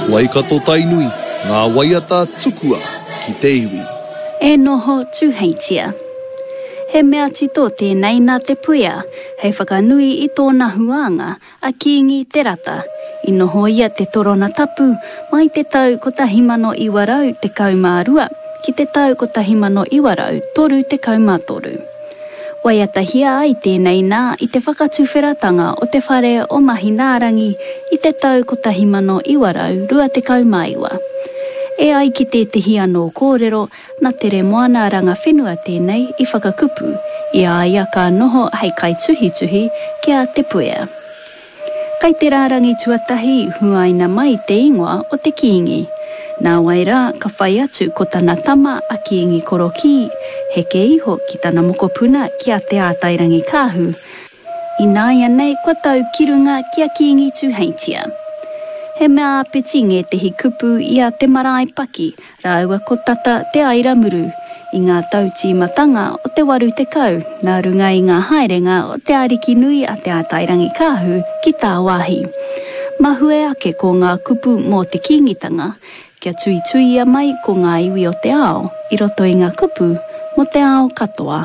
Waikato Tainui, ngā waiata tukua ki te iwi. E noho Tūheitia. He mea tito tēnei nā Te Puea hei whakanui i tōna huānga a Kīngi Te Rata, i nohoia te torona tapu mai te tau 1912 ki te tau 1933. Waiatahia ai tēnei nā i te whakatuwheratanga o te whare o Mahinārangi i te tau 1929. E ai ki tētehi anō kōrero, Na Teremoana Rangawhenua tēnei i whakakupu, i a ia ka noho hei kaituhituhi ki a Te Puea. Kai te rārangi tuatahi huaina mai te ingoa o te Kīngi. Nāwai rā ka whai atu ko tana tama a Kīngi Korokī, heke iho ki tana mokopuna ki a Te Ātairangikaahu, Ināianei kua tau ki runga ki a Kīngi Tūheitia. He mea āpiti ngētehi kupu i a Te Marae Paki rāua ko Tata Te Airamuru i ngā tau tīmatanga o te 80 nā runga i ngā haerenga o te ariki nui a Te Ātairangikaahu ki tāwāhi. Mahue ake ko ngā kupu mō te Kīngitanga kia tuituia mai ko ngā iwi o te ao i roto i ngā kupu mō te ao katoa.